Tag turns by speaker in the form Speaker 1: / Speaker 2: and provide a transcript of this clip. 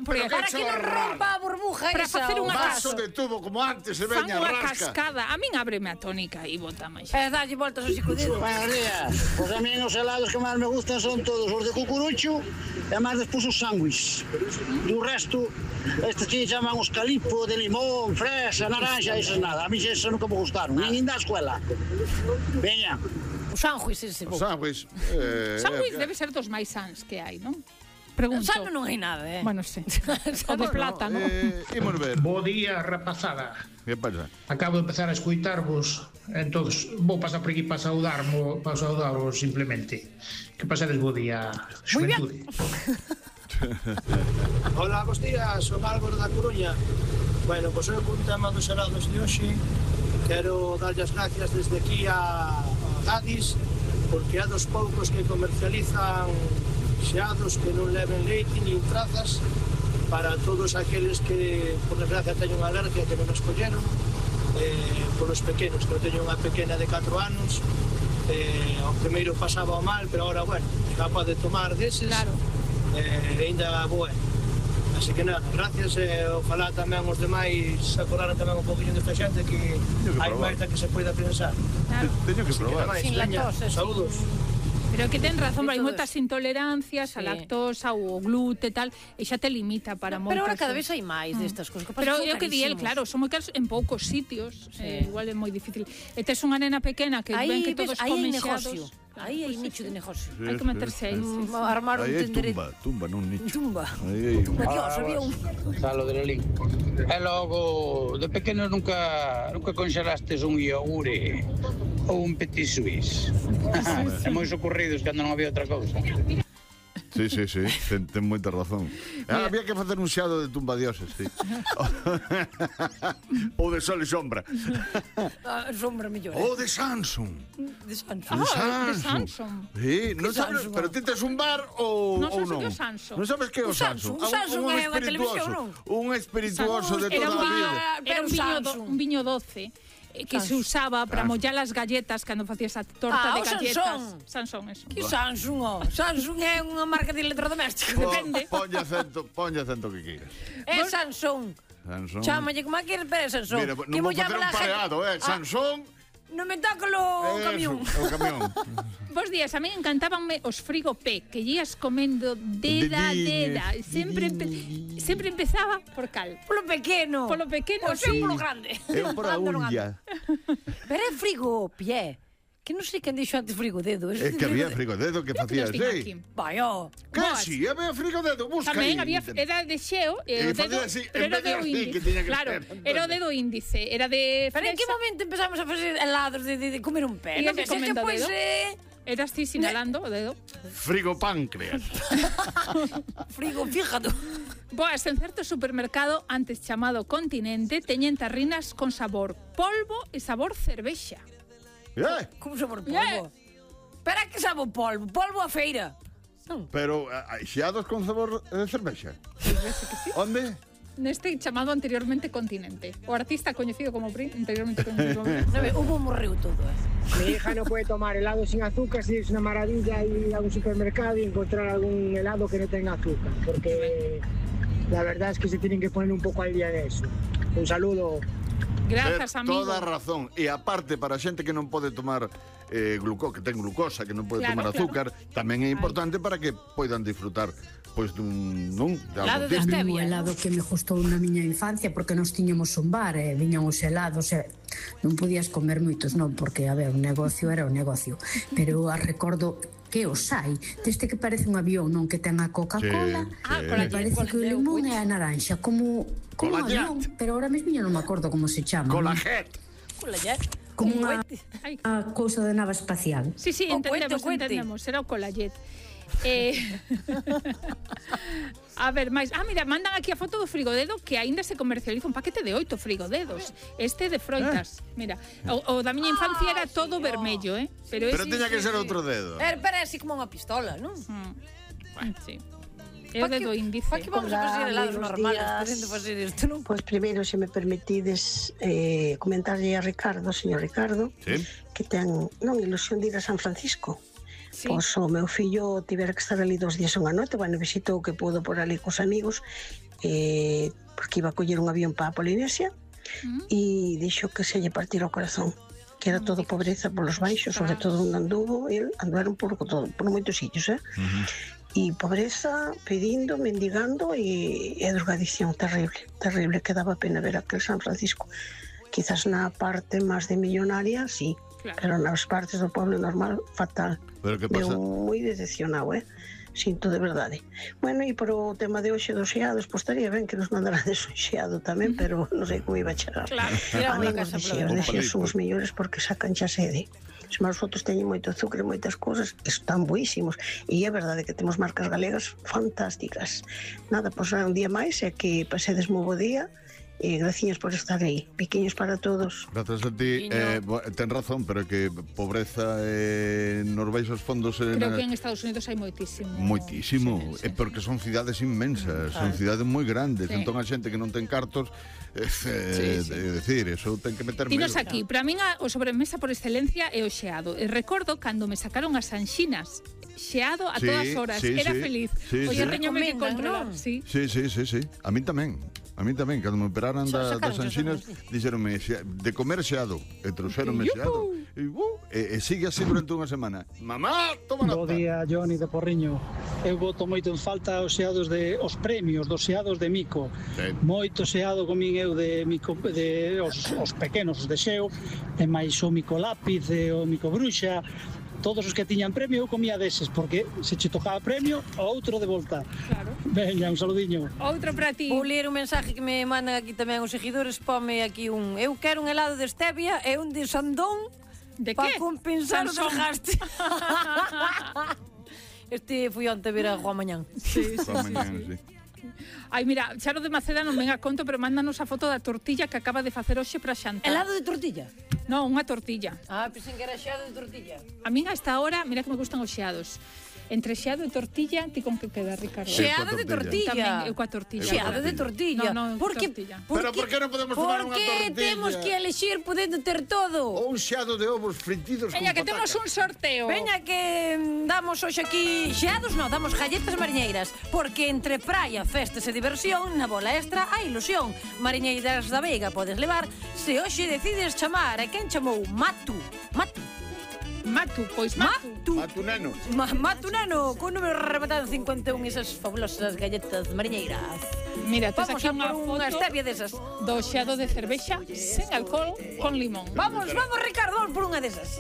Speaker 1: Para que non rompa a burbuja
Speaker 2: para
Speaker 1: esa.
Speaker 2: facer unha
Speaker 3: Vaso de tubo como antes se
Speaker 2: fan
Speaker 3: veña
Speaker 2: unha
Speaker 3: rasca.
Speaker 2: cascada. A min ábreme a tónica e bota máis.
Speaker 1: Dalle voltas ao psicodedo.
Speaker 4: Buenos días. Pues a mí os helados que máis me gustan son todos os de cucurucho e máis despois os sándwiches. Do resto, estes que chaman os calipo, de limón, fresa, naranja, esas nada. A mí esas nunca me gustaron, nin da escuela. Veña.
Speaker 1: O sándwich ese.
Speaker 3: Os sándwich.
Speaker 2: Sándwich debe ser dos máis sans que hai, non? Pregunto.
Speaker 1: Sano non hai nada,
Speaker 2: Bueno, sí. O de plátano.
Speaker 3: Imos ver.
Speaker 5: Bo día, rapazada.
Speaker 3: Que pasa?
Speaker 5: Acabo de empezar a escuitarvos, entonces vou pasar por aquí para saudarvos simplemente. Que pasades bo día, xuventude.
Speaker 6: Hola, bos días, son Álvaro da Coruña. Bueno, pois eu con tema dos helados de hoxe quero darlle as gracias desde aquí a Gadis, porque é dos poucos que comercializan xeados que non leven leite nin trazas para todos aqueles que, por desgracia, teñen unha alergia que non escolleron, polos pequenos, que eu teño unha pequena de 4 anos, ao primeiro pasaba o mal, pero agora, bueno, xa pode tomar deses,
Speaker 2: Claro.
Speaker 6: Ainda boa. Así que nada, gracias, ojalá tamén os demais acordaran tamén un poquinho desta xente que hai máis da que se poida pensar.
Speaker 2: Claro.
Speaker 3: Teño que probar.
Speaker 2: Sin lactosa,
Speaker 6: saúdos.
Speaker 2: Pero que ten razón, hai moitas intolerancias a lactosa ou o glute e tal, e xa te limita para moitas.
Speaker 1: Pero ahora cada vez hai máis destas cousas.
Speaker 2: Pero é o que di el, claro, son moi caros en poucos sitios, igual é moi difícil. E tes unha nena pequena que ven que todos comen xeados.
Speaker 1: Aí hai nicho de negocio.
Speaker 2: Hai que meterse aí.
Speaker 1: Armar un tenderete.
Speaker 3: Tumba nun nicho.
Speaker 1: Tumba.
Speaker 4: Dios,
Speaker 1: había un...
Speaker 4: Salo de Lelín. E logo, de pequeno nunca conxelastes un iogure ou un petit suisse. É moi socorridos cando non había outra cousa.
Speaker 3: Sí, ten moita razón. Había que facer un xeado de tumbadioses, sí. Ou de sol e sombra.
Speaker 1: Sombra mellor.
Speaker 3: Ou de Samsung.
Speaker 1: De Samsung.
Speaker 2: De Samsung.
Speaker 3: Sí, non sabes, pero ti tes un bar ou non?
Speaker 2: Non sabes que é o Samsung.
Speaker 3: Non sabes que é o Samsung?
Speaker 1: O Samsung é unha televisión, non?
Speaker 3: Un espirituoso de toda a vida.
Speaker 2: Era un viño doce que se usaba para mollar as galletas cando facías a torta de galletas. Sansón, eso.
Speaker 1: Que Samsung, ó? Samsung é unha marca de electrodoméstico.
Speaker 2: Depende.
Speaker 3: Ponlle acento que queiras.
Speaker 1: É Samsung. Chámalle como a queres, pero é Samsung.
Speaker 3: Mira, non vou facer un pareado, Samsung.
Speaker 1: Non me toca o camión.
Speaker 3: O camión.
Speaker 2: Bos días, a mí encantábanme os frigo P, que ías comendo deda. Sempre empezaba por cal.
Speaker 1: Polo pequeno.
Speaker 2: Pois
Speaker 1: sí. Polo grande.
Speaker 3: Eu por a unha.
Speaker 1: Pero é frigo pie. Que non sei quen dixo antes frigodedo.
Speaker 3: É que había frigodedo que facía así.
Speaker 1: Vai, ó.
Speaker 3: Que si, había frigodedo, busca aí.
Speaker 2: Tamén había, era de xeo,
Speaker 3: E
Speaker 2: o dedo, pero era o dedo índice. Claro, era o dedo índice, era de fresa.
Speaker 1: Pero en que momento empezamos a facer helados de comer un pé?
Speaker 2: Ías comendo o dedo. Eras ti sinalando o dedo.
Speaker 3: Frigo páncreas.
Speaker 1: Frigo, fíjate.
Speaker 2: Boas, en certo supermercado, antes chamado Continente, teñen tarrinas con sabor polvo e sabor cervexa.
Speaker 1: Como sabor polvo? Espera que sabor polvo? Polvo a feira.
Speaker 3: Pero hai xeados con sabor de cervexa. Onde?
Speaker 2: Neste chamado anteriormente Continente. O artista coñecido como anteriormente coñecido como
Speaker 1: Hubo morreu todo,
Speaker 7: Mi hija no puede tomar helado sin azúcar, si es una maravilla ir a un supermercado y encontrar algún helado que no tenga azúcar, porque la verdad es que se tienen que poner un poco al día de eso. Un saludo.
Speaker 2: Grazas, amigo.
Speaker 3: Toda a razón. E aparte, para a xente que non pode tomar que ten glucosa, que non pode tomar azúcar, tamén é importante para que poidan disfrutar pois dun
Speaker 8: helado de stevia. O helado que me gustou na miña infancia, porque nós tiñamos un bar e viñan os helados e non podías comer moitos, non, porque, a ver, o negocio era o negocio, pero recordo que os hai, deste que parece un avión, non, que ten a Coca-Cola, me parece que o limón é a naranxa, como un avión, pero ahora mesmo non me acordo como se chama.
Speaker 3: Colajet.
Speaker 8: Como unha cousa de nave espacial.
Speaker 2: Sí, entendemos, era o Colajet. A ver, máis. Mira, mandan aquí a foto do frigodedo que aínda se comercializa un paquete de 8 frigodedos. Este de froitas. Mira, o da miña infancia era todo vermello,
Speaker 3: Pero teña que ser outro dedo.
Speaker 1: Era así como unha pistola, non?
Speaker 2: Sí. É o dedo índice.
Speaker 1: Para que vamos a fazer helados normales podendo facer isto, non?
Speaker 9: Pois primeiro, se me permitides comentarlle a Ricardo, señor Ricardo, que ten ilusión de ir a San Francisco. Pois o meu fillo tivera que estar ali 2 días unha noite, visitou o que pudo por ali cos amigos, porque iba a coller un avión para a Polinesia e dixo que se lle partira o corazón, que era todo pobreza polos baixos, sobre todo onde anduveron por moitos sitios, e pobreza, pedindo, mendigando e drogadición terrible, que daba pena ver aquel San Francisco. Quizás na parte máis de millonaria, sí, pero nas partes do pueblo normal, fatal.
Speaker 3: Pero que pasa?
Speaker 9: Moi decepcionado, sinto de verdade. Bueno, e por o tema de hoxe dos xeados, pois estaría ben que nos mandaran de un xeado tamén, pero non sei como iba a chegar.
Speaker 1: Claro,
Speaker 9: amigos de xeados, de xeados son os mellores porque sacan xa sede. Os meus fotos teñen moito azúcar e moitas cousas, están buísimos, e é verdade que temos marcas galegas fantásticas. Nada, pois un día máis, é que pasedes moi bo día, e graciñas por estar aí. Piquiños para todos.
Speaker 3: Gracias a ti. Ten razón, pero que pobreza nos baixos fondos...
Speaker 2: Creo que en Estados Unidos hai moitísimo.
Speaker 3: Moitísimo.
Speaker 2: Sí.
Speaker 3: Porque son cidades inmensas, son cidades moi grandes. Entón a xente que non ten cartos, decir, eso ten que meter medo.
Speaker 2: Tinos aquí, para min o sobremesa por excelencia é o xeado. E recordo cando me sacaron as anxinas, xeado a todas horas, era feliz. Oye, teñome que controlar. Sí,
Speaker 3: a min tamén. A mí tamén, cando me operaran das anxinas, dixeronme de comer xeado, e trouxeronme xeado. E sigue así durante unha semana. Mamá, toma nota.
Speaker 10: Bo día, Johnny de Porriño. Eu boto moito en falta os xeados os premios, dos xeados de Mico. Moito xeado comín eu de Mico, os pequenos, os de xeo, e máis o Mico lápiz, e o Mico bruxa. Todos os que tiñan premio eu comía deses, porque se che tocaba premio, o outro de volta.
Speaker 2: Claro.
Speaker 10: Veña, un saludiño.
Speaker 2: Outro para ti.
Speaker 1: Vou ler un mensaje que me mandan aquí tamén os seguidores. Pome aquí eu quero un helado de stevia e un de sandón.
Speaker 2: De
Speaker 1: para
Speaker 2: que?
Speaker 1: Compensar o desgaste. Este fui onte ver a Juan Mañán.
Speaker 2: Sí. Ai, mira, Charo de Maceda non ven a conto, pero mándanos a foto da tortilla que acaba de facer hoxe para xantar.
Speaker 1: Helado de tortilla?
Speaker 2: Non, unha tortilla.
Speaker 1: Pensei que era xeado de tortilla.
Speaker 2: A min a esta hora, mira que me gustan os xeados. Entre xeado e tortilla, ti con que queda, Ricardo?
Speaker 1: Xeado de tortilla.
Speaker 2: Tamén, eu coa tortilla.
Speaker 1: Xeado de tortilla.
Speaker 2: Non,
Speaker 1: tortilla.
Speaker 3: Pero por que non podemos tomar unha tortilla?
Speaker 1: Porque temos que elexir podendo ter todo.
Speaker 3: Ou un xeado de ovos fritidos
Speaker 2: Veña,
Speaker 3: con
Speaker 2: que temos un sorteo.
Speaker 1: Veña, que damos hoxe aquí xeados, non, damos galletas mariñeiras. Porque entre praia, festas e diversión, na bola extra hai ilusión. Mariñeiras da Veiga podes levar se hoxe decides chamar. E quen chamou? Matu, pois Matu
Speaker 3: Neno.
Speaker 1: Matu Neno, con número rematado 51, esas fabulosas galletas mariñeiras.
Speaker 2: Mira, tes
Speaker 1: vamos
Speaker 2: aquí unha foto
Speaker 1: stevia desas
Speaker 2: do xeado de cervexa sen alcohol con limón.
Speaker 1: Vamos, Ricardo, por unha desas.